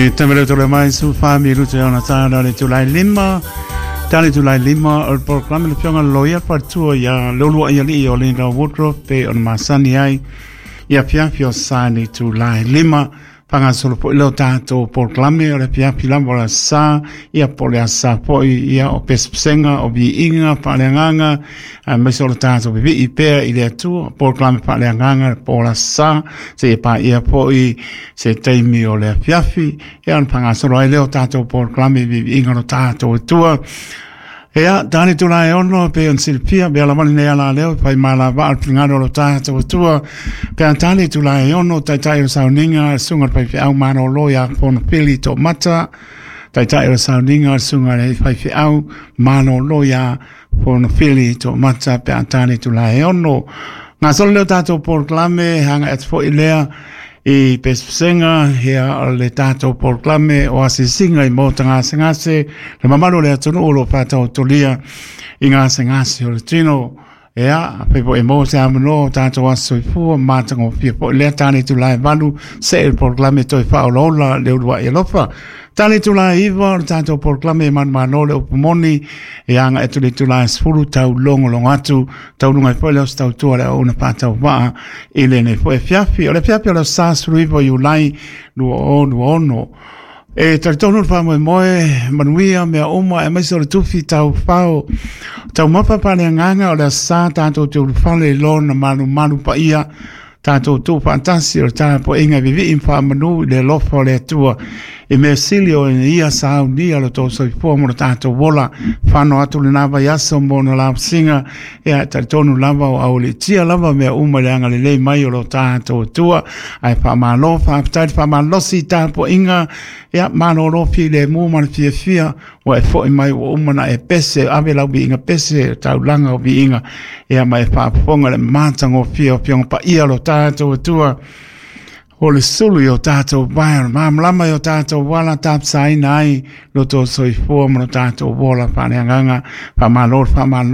E tamele tole mai su fa mi rute ona tāna le tulai lima. Tali tulai lima o le polokalame le fionga loia fatua ia lolua ia li o Linda Woodruff pe ona masani ai ia fiafi o sa ni tulai lima. Faagasolo foi lea o tatou polokalame o le afiafi lava o le Aso Sa, ia po o le Aso Sa foi, ia o pesepesega, o viiga faaleagaga, aemaise o le tatou vivii pea i le Atua, polokalame faaleagaga po o le Aso Sa, seia paia foi se taimi o le afiafi, ia ona faagasolo ai lea o tatou polokalame i viiviiga o lo tatou Atua. Ia, tani tula e ono, pe on silafia, mea lava lenei ala leo, fai malavaa le finagalo o lo tatou Atua. Pe a tani tula e ono, taitai o le sauniga, susuga le faifeau malolo ia Fonofili Toomata, taitai o le sauniga, susuga le faifeau malolo ia Fonofili Toomata, pe a tani tula e ono. Gasolo leo tatou polokalame, hanga atu foi lea, i pesepesega ia o le tatou polokalame o asiasiga i maota gasegase le mamalu o le atunuu o lo o faataotolia i gasegase o le tino. Ia, afai foi e maua se avanoa o tatou aso soifua matagofie foi lea tane itula e 8 see le polokalame toe faaolaola le uluai alofa. Tane itula e 9 o le tatou polokalame e manumalo le upu moni e agai atu le itula e 10 tau logologo atu taualuga ai foi lea o se tautua le auauna faatauvaa i lenei foi afiafi. O le afiafi o le aso Sa 19 o Iulai 2026. E talitonu le faamoemoe manuia mea uma aemaise o le tufi taufao taumafa faaleagaga o le aso Sa tatou te ulufale i lona malumalu paia tatou tuufaatasi o le tapuaiga e vivii ma faamanu i le alofa o le Atua i mea sili o ia saunia lo tou soifua mo lo tatou ola fano atu lena vaiaso mo ona lausiga ia e talitonu lava o aualiitia lava mea uma i le agalelei mai o lo tatou Atua ae faamalo faafetai le faamalosi i tapuaiga ia malolo filemu ma le fiafia ua e foi mai ua uma na e pese ave lau viiga pese taulaga o viiga ia ma e faafofoga le matagofie o Afioga Paia o lo tatou Atua o le sulu i o tatou vae o le malamalama i o tatou ala tapasaina ai lo tou soifua ma lo tatou ola faaleagaga. Faamalo le faamalosi.